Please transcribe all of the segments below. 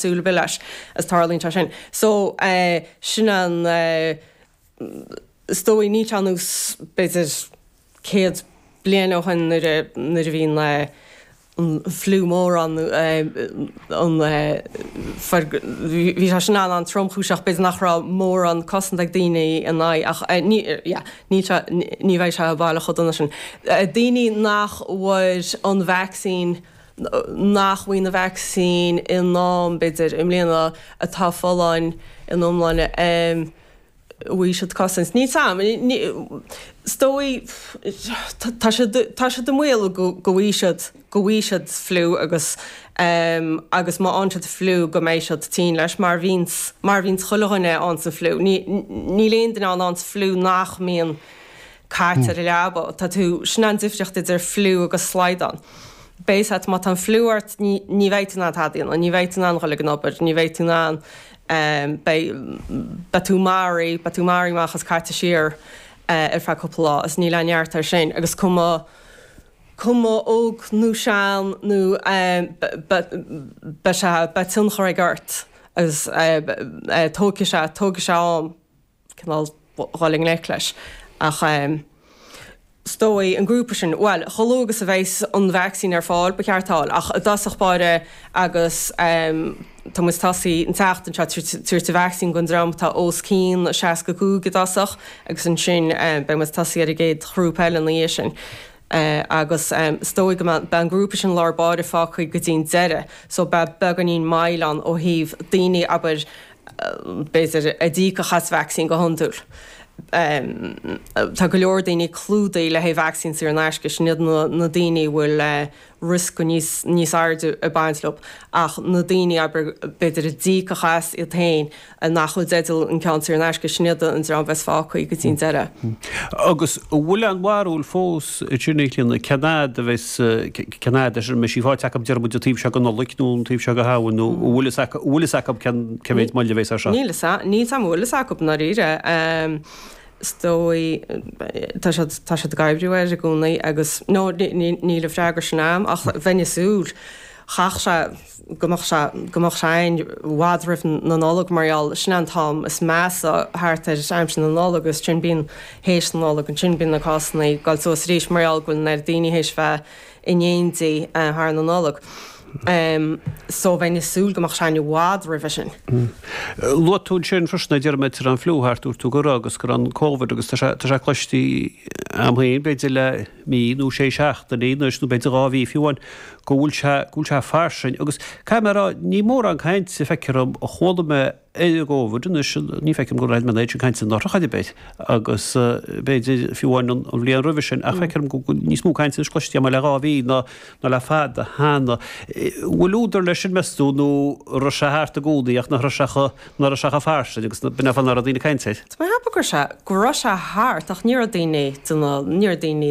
Súil ar bith leis is tarlaíonn sé sin. So, sin an, is dóigh, níl sé ar nós b'fhéidir 100 bliain ó shin nuair a, nuair a bhí an, an fliú mór ann, an, bhí sé sin an-an-tromchúiseach, b'fhéidir nach raibh mórán cosanta ag daoine ina aghaidh ach ní, yeah, níl sé, ní bheidh sé baileach chomh dona sin. Daoine nach bhfuair an vacsaín, nach bhfuair an vacsaín in am, b'fhéidir, i mbliana, atá folláin ina iomláine, an bhfaighidh siad cosaint. Níl 's a'm. Is dóigh, tá siad, tá siad i mbaol go bhfaighidh siad, go bhfaighidh siad fliú agus, agus má fhaigheann siad fliú go mbeidh siad tinn leis, mar a bhíonns, mar a bhíonns chuile dhuine a fhaigheanns an fliú. Ní, níl aon duine ann a fhaigheanns fliú nach mbíonn caite ar an leaba. Tá tú, sin an difríocht idir fliú agus slaghdán. Beidh ort, má tá an fliú ort, ní, ní bheidh tú in ann tada a dhéanamh, ní bheidh tú in ann dhul ag an obair, ní bheidh tú in ann, beidh, beidh tú maraithe, beidh tú maraithe amach is caite siar ar feadh cúpla lá agus níl aon neart air sin. Agus cuma, cuma óg nó sean nó beidh sé, beidh tionchar aige ort agus tógfaidh sé, tógfaidh sé am. cineál dhul i ngleic leis. Ach is dóigh, an grúpa sin, bhuel, chomh luath agus a bheas an vacsaín ar fáil, ba cheart a fháil. Ach i dtosach báire agus tá muid tosaithe an tseachtain seo tabhairt an vacsaín don dream atá os cionn 65 i dtosach agus ansin beidh muid tosaithe ar an gcéad ghrúpa eile ina dhiaidh sin. Agus is dóigh go mbeidh an grúpa sin lár báire fágtha go dtí an deireadh so beidh beagáinín moill ann ó thaobh daoine, abair, b'fhéidir, a d'íocfadh as vacsaín go hiondúil. Tá go leor daoine clúdaithe le haghaidh vacsaín saor in aisce, sin iad na daoine a bhfuil riosca níos níos airde ag baint leo. Ach na daoine, abair, b'fhéidir a d'íocfadh as iad féin, nach bhfuil i dteideal an ceann saor in aisce, sin iad an dream a bheas fágtha go dtí an deireadh. Agus an bhfuil aon bharúil fós ansin, a Chlíona, cén fhad a bheas, cén fhad a mbeidh sí faighte acu, deir muid, an taobh seo den Nollaig nó an taobh seo de Shamhain nó an bhfuil fhios acu, an bhfuil fhios acu cén, cé mhéid moille a bheas air seo? Níl fhios, níl 's a'm an bhfuil fhios acu i ndáiríre. Is dóigh, tá siad, tá siad ag oibriú air i gcónaí agus, no, níl an freagra sin a'm ach bheinn ag súil, chaithfeadh sé, go mbeadh sé, go mbeadh sé a'inn i bhfad roimh na Nollag mar gheall, sin an t-am is measa thart ar aimsir na Nollag agus ansin bíonn théis na Nollag, ansin bíonn na cásanna ag dul suas arís mar gheall go bhfuil an oiread daoine théis bheith in éindí thar na Nollag. So bheinn ag súil go mbeadh sé a'inn i bhfad roimhe sin. Luaigh tú ansin freisin a deir muid an fliú thart, dúirt tú go raibh agus go raibh an Covid agus tá sé, tá sé cloiste a'm féin b'fhéidir le mí nó sé seachtainí anois nó b'fhéidir 2 mhí fiú amháin go bhfuil sé, go bhfuil sé fairsing agus caithfidh mé a rá ní mórán cainte feictear dom a chuala mé ar an gCovid anois, ní feicim go raibh mé an oiread sin cainte anuraidh chor ar bith agus b'fhéidir fiú amháin an bhliain roimhe sin ach feictear dom go bhfuil níos mó cainte anois cloiste agam le 2 mhí ná ná le fada cheana. Bhfuil údar leis sin meas tú nó raibh sé thart i gcónaí ach nach raibh sé chomh, nach raibh sé chomh fairsing agus b'in é an fáth nach raibh daoine ag caint air? Tá mé ag ceapadh go raibh sé, go raibh sé thart ach ní raibh daoine ag déanamh, ní raibh daoine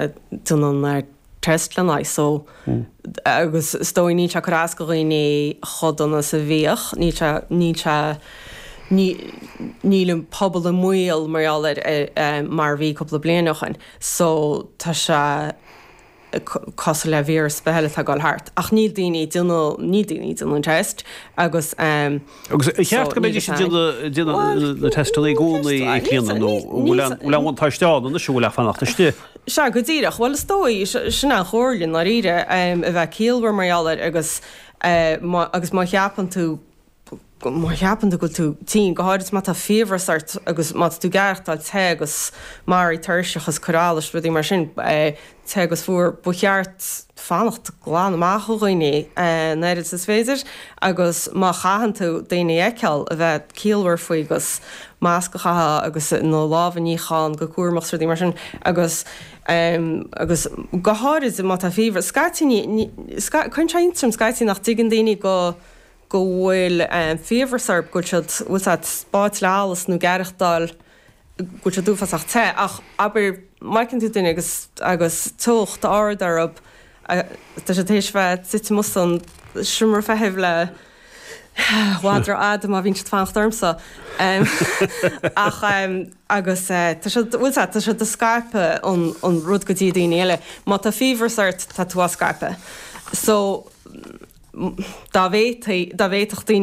ag déanamh an test lena aghaidh so agus is dóigh níl sé ag cur as do dhaoine chomh dona is a bhíodh, níl sé, níl sé, ní, níl an pobal i mbaol mar gheall air mar a bhí cúpla bliain ó shin so tá sé cosúil le víreas ar bith eile atá ag dul thart ach níl daoine ag déanamh, níl daoine ag déanamh an test agus Agus ar cheart go mbeidís ag déanamh na teisteanna i gcónaí a Chlíona nó bhfuil aon bhuntáiste ann anois an bhfuil ach fanacht istigh? Sea, go díreach. Bhuel, is dóigh, sin an chomhairle i ndáiríre, a bheith ciallmhar mar gheall air agus agus má cheapann tú, má cheapann tú go bhfuil tú tinn, go háirid má tá fiabhras ort agus má tá tú ag aireachtáil te agus maraithe tuirseach agus cur allais, rudaí mar sin, te agus fuar, ba cheart fanacht glan amach ó dhaoine an oiread is is féidir agus má chaitheann tú daoine a fheiceáil, a bheith ciallmhar faoi agus masc a chaitheamh agus na lámha a níochán go cúramach is rudaí mar sin agus agus go háirid má tá fiabhras. Scaití ní, cuireann sé iontas orm scaití nach dtuigeann daoine go go bhfuil fiabhras orthu, go bhfuil siad, bhfuil siad báite le allas nó ag aireachtáil go bhfuil siad uafásach te ach abair má fheiceann tú duine agus agus teocht ard orthu tá siad théis bheith suite amuigh san seomra feithimh le i bhfad rófhada má bhíonn siad fanacht ormsa ach agus tá siad bhfuil a fhios agat tá siad ag scaipeadh an an rud go dtí daoine eile. Má tá fiabhras ort tá tú á scaipeadh. So. Dá bhféadfaí, dá bhféadfadh daoine.